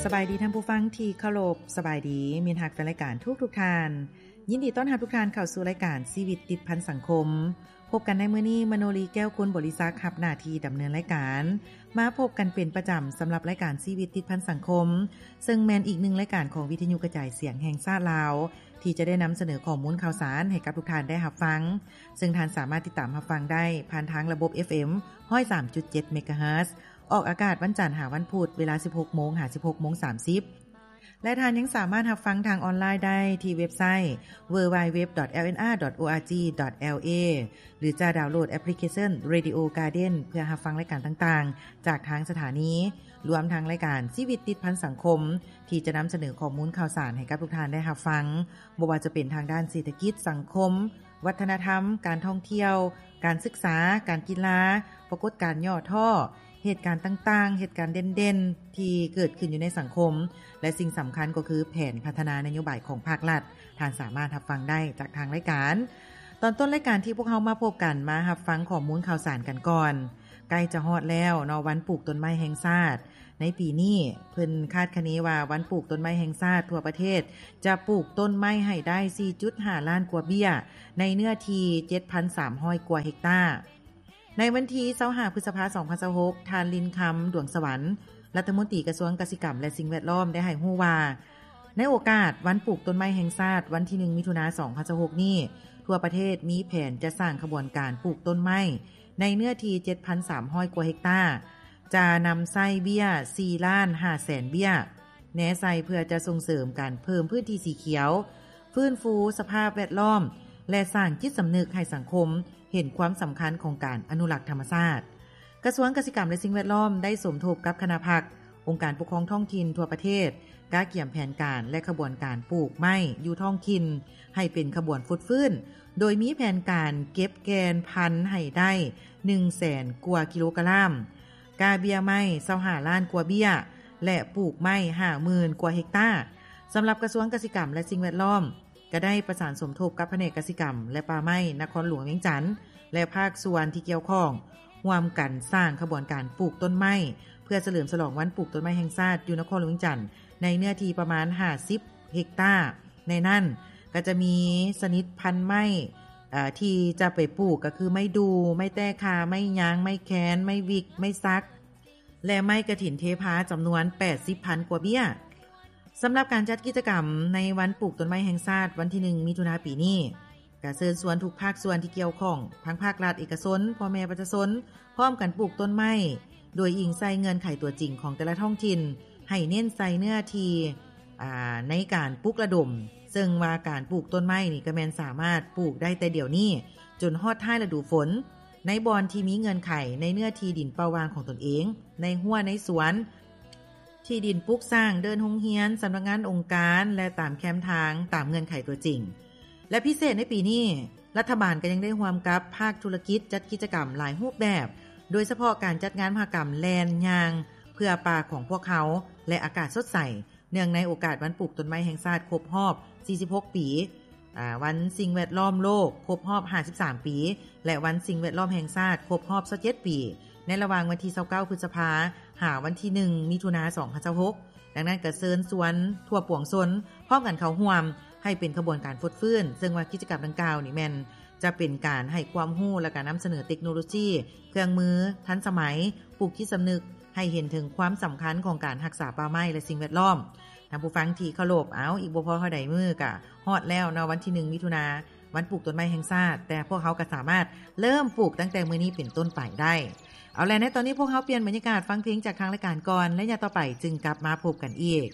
ສະບາຍດີທ່ານຜູ້ຟັງທີ່ເຄົາລົບ, ສະບາຍດີມິດຮັກແຟນລາຍການທຸກໆທ່ານ. ຍິນດີຕ້ອນຮັບທຸກທ່ານເຂົ້າສູ່ລາຍການຊີວິດຕິດພັນສັງຄົມ. ພົບກັນໃນມື້ນີ້, ມະໂນລີ ແກ້ວຄຸນບໍລິສັກ ຮັບໜ້າທີ່ດຳເນີນລາຍການ. ມາພົບກັນເປັນປະຈຳສຳລັບລາຍການຊີວິດຕິດພັນສັງຄົມ, ເຊິ່ງແມ່ນອີກໜຶ່ງລາຍການຂອງວິທະຍຸກະຈາຍສຽງແຫ່ງຊາດລາວ ທີ່ຈະໄດ້ນຳສະເໜີຂໍ້ມູນຂ່າວສານໃຫ້ກັບທຸກທ່ານໄດ້ຮັບຟັງ, ເຊິ່ງທ່ານສາມາດຕິດຕາມຮັບຟັງໄດ້ຜ່ານທາງລະບົບ ເອຟເອັມ ຮ້ອຍສາມຈຸດເຈັດ ເມກາເຮີດ, ອອກອາກາດວັນຈັນຫາວັນພຸດ ເວລາ ສິບຫົກໂມງ ຫາ ສິບຫົກໂມງສາມສິບ ແລະ ທ່ານຍັງສາມາດຮັບຟັງທາງອອນລາຍໄດ້ທີ່ເວັບໄຊ www.lnr.org.la ຫຼື ຈະດາວໂຫຼດແອັບພລິເຄຊັນ Radio Garden ເພື່ອຮັບຟັງລາຍການຕ່າງໆ ຈາກທາງສະຖານີ, ລວມທັງລາຍການຊີວິດຕິດພັນສັງຄົມ ທີ່ຈະນຳສະເໜີຂໍ້ມູນຂ່າວສານໃຫ້ກັບທຸກທ່ານໄດ້ຮັບຟັງ, ບໍ່ວ່າຈະເປັນທາງດ້ານເສດຖະກິດ, ສັງຄົມ, ວັດທະນະທຳ, ການທ່ອງທ່ຽວ, ການສຶກສາ, ການກິລາ, ປາກົດການຫຍໍ້ທໍ້, ເຫດການຕ່າງໆ, ເຫດການເດັ່ນໆ ທີ່ເກີດຂຶ້ນຢູ່ໃນສັງຄົມ ແລະ ສິ່ງສຳຄັນກໍຄືແຜນພັດທະນານະໂຍບາຍຂອງພາກລັດ, ທ່ານສາມາດຮັບຟັງໄດ້ຈາກທາງລາຍການ. ຕອນຕົ້ນລາຍການທີ່ພວກເຮົາມາພົບກັນ, ມາຮັບຟັງຂໍ້ມູນຂ່າວສານກັນກ່ອນ. ໃກ້ຈະຮອດແລ້ວເນາະ, ວັນປູກຕົ້ນໄມ້ແຫ່ງຊາດ. ໃນປີນີ້ ເພິ່ນຄາດຄະເນວ່າວັນປູກຕົ້ນໄມ້ແຫ່ງຊາດທົ່ວປະເທດຈະປູກຕົ້ນໄມ້ໃຫ້ໄດ້ ສີ່ຈຸດຫ້າລ້ານກວ່າເບ້ຍ ໃນເນື້ອທີ່ ເຈັດພັນສາມຮ້ອຍກວ່າເຮັກຕາ. ໃນວັນທີ ຊາວຫ້າ ພຶດສະພາ ສອງພັນຊາວຫົກ ທ່ານ ລິນຄຳ ດວງສະຫວັນ ລັດຖະມົນຕີກະຊວງກະສິກຳ ແລະ ສິ່ງແວດລ້ອມ ໄດ້ໃຫ້ຮູ້ວ່າ ໃນໂອກາດວັນປູກຕົ້ນໄມ້ແຫ່ງຊາດ ວັນທີ ໜຶ່ງ ມິຖຸນາ ສອງພັນຊາວຫົກນີ້, ທົ່ວປະເທດມີແຜນຈະສ້າງຂະບວນການປູກຕົ້ນໄມ້ ໃນເນື້ອທີ່ ເຈັດພັນສາມຮ້ອຍກວ່າເຮັກຕາ, ຈະນຳໃຊ້ເບ້ຍ ສີ່ລ້ານຫ້າແສນເບ້ຍ ແນໃສ່ເພື່ອຈະສົ່ງເສີມການເພີ່ມພື້ນທີ່ສີຂຽວ, ຟື້ນຟູສະພາບແວດລ້ອມ ແລະ ສ້າງຈິດສຳນຶກໃຫ້ສັງຄົມເຫັນຄວາມສຳຄັນຂອງການອະນຸລັກທຳມະຊາດ. ກະຊວງກະສິກຳ ແລະ ສິ່ງແວດລ້ອມ ໄດ້ສົມທົບກັບຄະນະພັກ, ອົງການປົກຄອງທ້ອງຖິ່ນທົ່ວປະເທດ, ກະກຽມແຜນການ ແລະ ຂະບວນການປູກໄມ້ຢູ່ທ້ອງຖິ່ນ ໃຫ້ເປັນຂະບວນຟົດຟື້ນ, ໂດຍມີແຜນການເກັບແກ່ນພັນໃຫ້ໄດ້ ໜຶ່ງແສນກວ່າກິໂລກຣາມ, ກະເບ້ຍໄມ້ ຊາວຫ້າລ້ານກວ່າເບ້ຍ ແລະ ປູກໄມ້ ຫ້າໝື່ນກວ່າເຮັກຕາ. ສຳລັບກະຊວງກະສິກຳ ແລະ ສິ່ງແວດລ້ອມ ກໍໄດ້ປະສານສົມທົບກັບພະແນກກະສິກຳ ແລະ ປ່າໄມ້ນະຄອນຫຼວງວຽງຈັນ ແລະ ພາກສ່ວນທີ່ກ່ຽວຂ້ອງ ຮ່ວມກັນສ້າງຂະບວນການປູກຕົ້ນໄມ້ ເພື່ອສະເຫຼີມສະຫຼອງວັນປູກຕົ້ນໄມ້ແຫ່ງຊາດຢູ່ນະຄອນຫຼວງວຽງຈັນ ໃນເນື້ອທີ່ປະມານ ຫ້າສິບເຮັກຕາ. ໃນນັ້ນກໍຈະມີຊະນິດພັນໄມ້ ເອີ່ ທີ່ຈະໄປປູກກໍຄືໄມ້ດູ່, ໄມ້ແຕ້ຄາ, ໄມ້ຍາງ, ໄມ້ແຄນ, ໄມ້ວິກ, ໄມ້ສັກ ແລະ ໄມ້ກະຖິນເທພາ ຈຳນວນ ແປດສິບພັນກວ່າເບ້ຍ. ສຳລັບການຈັດກິດຈະກຳໃນວັນປູກຕົ້ນໄມ້ແຫ່ງຊາດ ວັນທີ ໜຶ່ງ ມິຖຸນາ ປີນີ້, ກະເຊີນຊວນທຸກພາກສ່ວນທີ່ກ່ຽວຂ້ອງ, ທັງພາກລັດ, ເອກະຊົນ, ພໍ່ແມ່ປະຊາຊົນ, ພ້ອມກັນປູກຕົ້ນໄມ້ ໂດຍອີງໃສ່ເງື່ອນໄຂຕົວຈິງຂອງແຕ່ລະທ້ອງຖິ່ນ, ໃຫ້ເນັ້ນໃສ່ເນື້ອທີ່ ອາ ໃນການປຸກລະດົມ, ເຊິ່ງວ່າການປູກຕົ້ນໄມ້ນີ້ກໍແມ່ນສາມາດປູກໄດ້ແຕ່ດຽວນີ້ ຈົນຮອດທ້າຍລະດູຝົນ, ໃນບ່ອນທີ່ມີເງື່ອນໄຂ, ໃນເນື້ອທີ່ດິນເປົ່າວ່າງຂອງຕົນເອງ, ໃນຮົ້ວໃນສວນ, ທີ່ດິນປຸກສ້າງ, ເດີ່ນໂຮງຮຽນ, ສຳນັກງານອົງການ ແລະ ຕາມແຄມທາງ, ຕາມເງື່ອນໄຂຕົວຈິງ. ແລະ ພິເສດໃນປີນີ້, ລັດຖະບານກໍຍັງໄດ້ຮ່ວມກັບພາກທຸລະກິດຈັດກິດຈະກຳຫຼາຍຮູບແບບ, ໂດຍສະເພາະການຈັດງານມະຫະກຳແລ່ນຍ່າງເພື່ອປ່າຂອງພວກເຮົາ ແລະ ອາກາດສົດໃສ, ເນື່ອງໃນໂອກາດວັນປູກຕົ້ນໄມ້ແຫ່ງຊາດຄົບຮອບ ສີ່ສິບຫົກ ປີ, ອາ ວັນສິ່ງແວດລ້ອມໂລກຄົບຮອບ ຫ້າສິບສາມ ປີ ແລະ ວັນສິ່ງແວດລ້ອມແຫ່ງຊາດຄົບຮອບ ຊາວເຈັດ ປີ ໃນລະຫວ່າງວັນທີ ຊາວເກົ້າ ພຶດສະພາ ຫາວັນທີ ໜຶ່ງ ມິຖຸນາ ສອງພັນຊາວຫົກ. ດັ່ງນັ້ນກໍເຊີນຊວນທົ່ວປວງຊົນພ້ອມກັນເຂົ້າຮ່ວມ ໃຫ້ເປັນຂະບວນການຟົດຟື້ນ, ເຊິ່ງວ່າກິດຈະກຳດັ່ງກ່າວນີ້ແມ່ນຈະເປັນການໃຫ້ຄວາມຮູ້ ແລະ ການນຳສະເໜີເຕັກໂນໂລຊີ, ເຄື່ອງມືທັນສະໄໝ, ປູກຈິດສຳນຶກ ໃຫ້ເຫັນເຖິງຄວາມສຳຄັນຂອງການຮັກສາປ່າໄມ້ ແລະ ສິ່ງແວດລ້ອມ. ທ່ານຜູ້ຟັງທີ່ເຄົາລົບ, ເອົາ, ອີກບໍ່ພໍເທົ່າໃດມື້ກະຮອດແລ້ວເນາະ, ວັນທີ ໜຶ່ງ ມິຖຸນາ, ວັນປູກຕົ້ນໄມ້ແຫ່ງຊາດ, ແຕ່ພວກເຮົາກໍສາມາດເລີ່ມປູກຕັ້ງແຕ່ມື້ນີ້ເປັນຕົ້ນໄປໄດ້. ເອົາແຫຼະ, ໃນຕອນນີ້ພວກເຮົາປ່ຽນບັນຍາກາດຟັງເພງຈາກທາງລາຍການກ່ອນ, ໄລຍະຕໍ່ໄປຈຶ່ງກັບມາພົບກັນອີກ.